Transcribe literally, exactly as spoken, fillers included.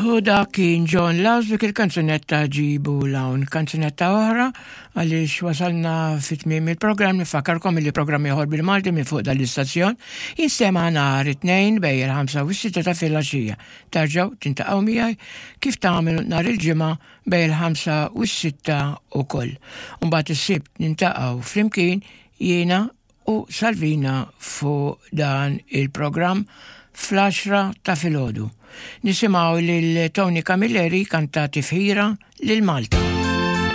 U dak kien John Laws dik il-kanzunetta Ġibu 'l hawn. Kanzunetta oħra għaliex wasalna fit-tmiem il-programm. Nifakkarkom li programm ieħor bil-Malti minn fuq dal-istazzjon jinstema' nhar it-Tnejn bejn il-ħamsa u s-sitta ta' filgħaxija. Terġgħu tiltaqgħu miegħi kif tagħmlu nhar il-Ġimgħa bejn il-ħamsa u s-sitta ukoll. Mbagħad is-Sibt niltaqgħu flimkien jiena u Salvina fuq dan il-programm fl-għaxra ta' filgħodu. Nisimgħu lil Tony Camilleri kanta tifħira lil Malta.